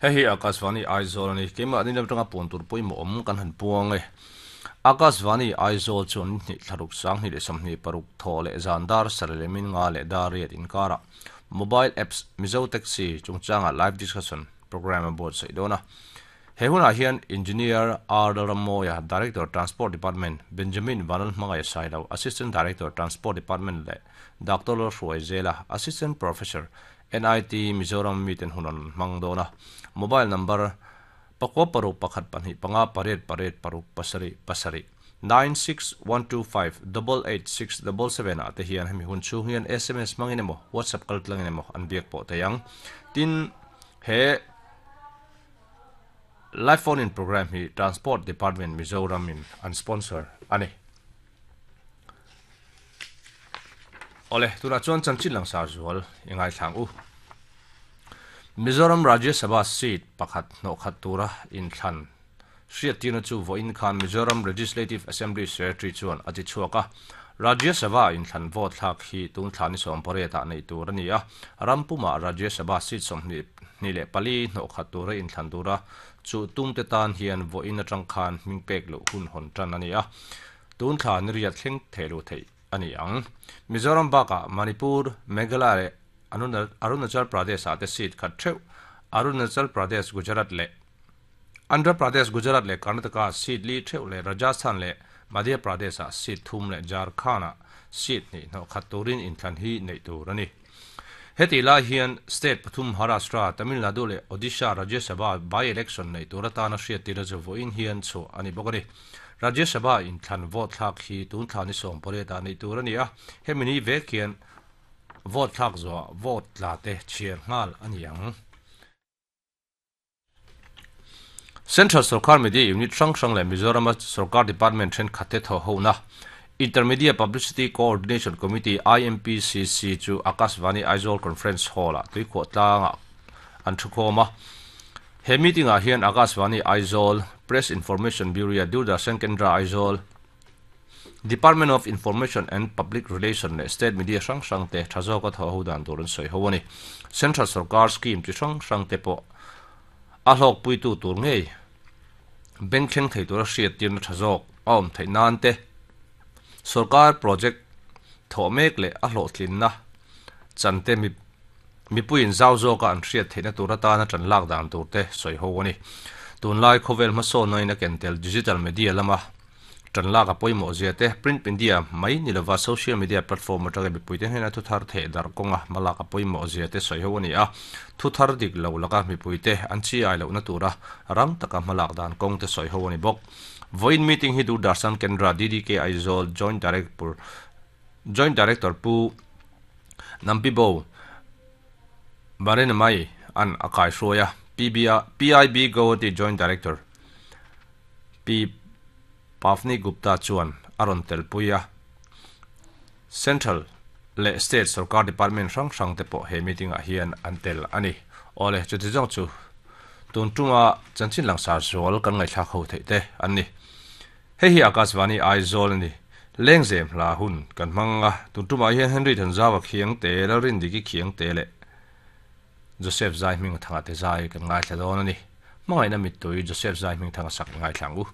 Hei hi Akashvani Aizawl a ni. Keimah ni lam atanga puan tur pawimawh awm kan han puang e. Akashvani Aizawl chuan ni hnih thlaruk 2026 thaw leh zan dar sarih leh min nga leh dar riat inkarah Mobile Apps Mizo Taxi chungchanga Live Discussion Programme a buatsaih dawn a. He hunah hian Engineer R Lalrammawia, Director, Transport Department, Benjamin Vanlalhmangaih Sailo, Assistant Director, Transport Department leh Doctor Lalhruaizela, Assistant Professor, NIT, Mizoram miten hun an hmang dawn a. Mobile number, pakua paruk pakhat pahnih panga pariat pariat paruk pasarih pasarih, 9612588677 ah te hian hemi hun chhung hian sms hmangin emaw WhatsApp kaltlangin emaw an biak pawh thei ang. Tin, he Live Phone In Programme hi Transport Department Mizoram in an sponsor a ni. Awle, tunah chuan chanchin langsar zual i ngaithlang u. Mizoram Rajya Sabha seat pakhat hnawhkhat tura inthlan hriattirna chu vawiin khan Mizoram Legislative Assembly Secretary chuan a ti chhuak a. Rajya Sabha inthlan vote thlak hi tun thla ni 18 ah neih tur a ni a, ram pumah Rajya Sabha seat 24 hnawhkhat tura inthlan tura chu tumte tan hian vawiin atang khan hming pek loh hun hawn tan a ni a, tun thla ni riat thleng theh loh theih a ni ang. Mizoram bakah Manipur, Meghalaya leh Arunachal Pradesh ah te seat khat theuh, Arunachal Pradesh, Gujarat leh Andhra Pradesh, Gujarat leh Karnataka seat li theuh leh Rajasthan leh Madhya Pradesh ah seat thum leh Jharkhand ah seat hnih hnawh khat turin inthlan hi neih tur a ni. Hetih lai hian state pathum Maharashtra, Tamil Nadu leh Odisha Rajya Sabha by-election neih tur atana hriattir a chu vawiin hian chhuah a ni bawk a ni. Rajya Sabha inthlan vote thlak hi tun thla ni 18 ah neih tur a ni a, hemi ni vek hian vote thlak zawhah vote tla te chhiar nghal a ni ang. Central Sorkar Media Unit hrang hrang leh Mizorama Sorkar Department thenkhat te thawh hona Intermedia Publicity Coordination Committee, IMPCC, chu Akashvani Aizawl Conference Hall-ah tuikhuah tlangah an thukhawm a. He meeting-ah hian Akashvani Aizawl, Press Information Bureau, Doordarshan Kendra Aizawl, Department of Information and Public Relation leh State Media hrang hrang te tha zawka thawh ho dan tur an sawi ho a ni. Central Sorkar scheme chi hrang hrang te pawh a hlawkpuitu tur ngei bank thleng thei tura hriattirna tha zawk a awm theih nan te, Sorkar project thawh mek leh a hlawhtlinna chan te mipuiin zau zawka an hriat theihna tur atana tan lak dan tur te sawi ho a ni. Tunlai khawvel hmasawnna in a ken tel digital media lama Ṭan lak a pawimawh zia te, print media mai ni lova social media platform aṭanga mipuite hnena thu thar theh darh kawnga hma lak a pawimawh zia te sawi ho a ni a. Thu thar dik lo laka mipuite an chi ai lohna tura rang taka hma lak dan kawng te sawi ho a ni bawk. Vawiin meeting hi Doordarshan Kendra DDK Aizawl Joint Director Joint Director Pu Nampibo Barenamai an a kaihruai a, PIB Guwahati Joint Director Pi Pavni Gupta chuan a rawn telpui a, Central leh State sorkar department hrang hrang te pawh he meeting ah hian an tel a ni. Awle, chuti zawng chu tun tunga chanchin langsar zual kan ngaihthlak ho theih te an ni. Hei hi Akashvani Aizawl a ni. Lengzem hla hun kan hmang a, tun tumah hian Henry Thanzawa Khiangte, Lalrindiki Khiangte leh Joseph Zaihming Thanga te zai kan ngaithla dawn a ni. Hmangaihna mittui Joseph Zaihming Thanga sak i ngaithla ang u.